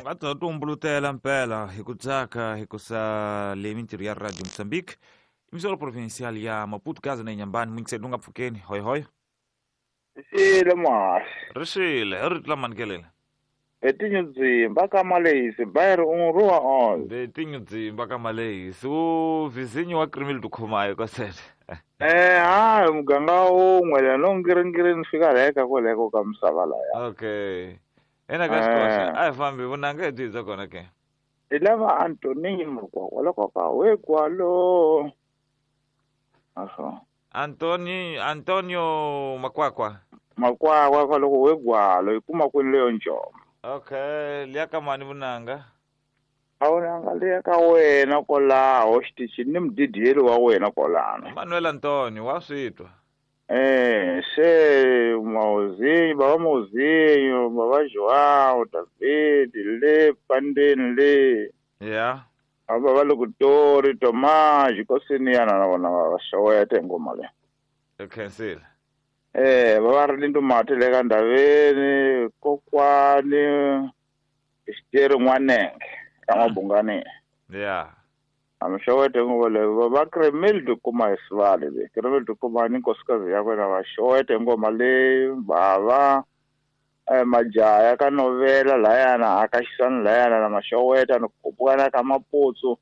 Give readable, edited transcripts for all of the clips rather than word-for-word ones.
Va ta tumbulutela mpela hi ku tsaka hi ku sa le mintirho ya Radio Mozambique, emisora provincial ya Maputo, Gaza na Inhambane. Mwingiseli u nga pfukeni. Hoy hoy. Xile muhaxi. Ri xile, hi rito la manikelela. Betinyudzimba ka Malehisi bayri un'we on. Betinyudzimba ka Malehisi u vizinyo wa Krimil Dukhumayo kwasele. Hayi muganga wun'we la no ngiringiri ni fika leka kwaleko ka misava laya. Okay. Ena ka xikoxa a hi fambi vunanga hi byi bya kona ke. Hi lava Antoninho Makwakwa loko ka we kwalo. Aso. Antonio Makwakwa. Makwakwa kwaloko we gwalo yi kuma kwini leyo njoma. Okay, liya ka mani vunanga? A vunanga liya ka wena kwalaho xitichini ni mudidiyeli wa wena kwalano. Manuel Antonio wa swi twa. Se Mauzinho, baba Mauzinho, baba João, David, le Pandeni le. Yeah. Aba va Lokutori, Tomás, Kosini yana na vona va xeweta hi ngoma leyi. Khensile. Va va ri Lindu Mati le ka Ndaveni, kokwani Xiteri N'wanenge ka Mabungani. Yeah. A mi xeweta hi ngoma leyi. Va Kremil Dukuma hi Sivale le. Kremil Dukuma ni nkosikazi ya wena va xeweta hi ngoma leyi. Bava majaha ka novela layana a ka xisani layana na maxeweta ni kupukana ka Maputsu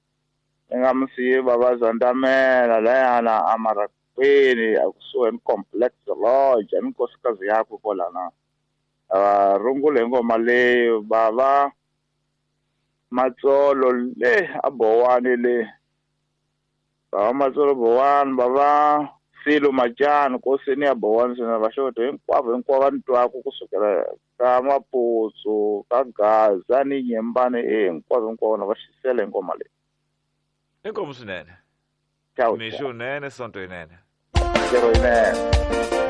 ni nga misiyi bava Zandamela layana a Marakweni a kusuhi ni Complex Lodge ni nkosikazi yakwe kwalana. Rungula hi ngoma leyi bava Matsolo le a Bowani le. Bava Matsolo Bowani, bava Silo Machani kosini ya Bowani swinene va xeweta hinkwavo hinkwavo va ni twaku kusukela ka Maputsu ka Gaza ni Nyembani hinkwavo hinkwavo na va xisela hi ngoma leyi. Inkomu swinene. Ciao. Mixo unene, sonto yinene. Ntirho yinene.